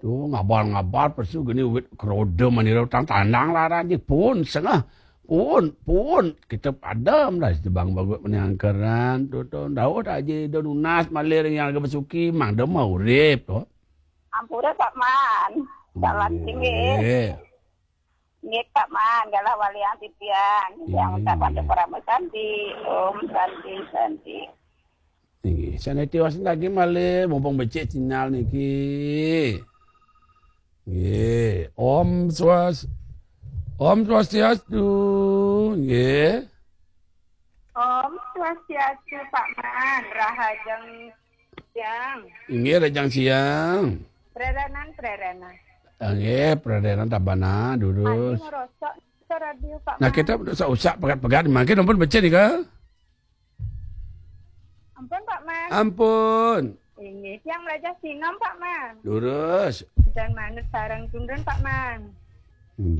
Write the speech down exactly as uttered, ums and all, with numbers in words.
Tuh, ngabar-ngabar pesu gini wit keroda manira utang tandang laran ji pun sengah. Pun, pun. Kita padam dah si Bang Bagut mani angkeran. Tuh, tuh, ndauh dah aja ida nunas malih ring yang agak besuki, mang dema urip tuh. Ampura, Pak Man. Jalan tinggi. Nggih. Nggih, Pak Man, galah walian titiang. Titiang ucapkan parama santi. Om santi, santi. Nggih, saniti wasin lagi malih, mumpung becik sinyal niki. Nggih, Om Swas-, Om Swastiastu. Nggih. Om Swastiastu, Pak Man. Rahajeng siang. Inggih, rahajeng siang. Prerenan, prerenan. Inggih, prerenan tabana, durus. Adi ngerosok ke radio, Pak Man. Nah, kita usah, usah pegat-pegat, mangkin ampun becik nika. Ampun, Pak Man. Ampun. Inggih, tiang mrajah sinom, Pak Man. Durus. Dan manut sareng tundun, Pak Man. Inggih.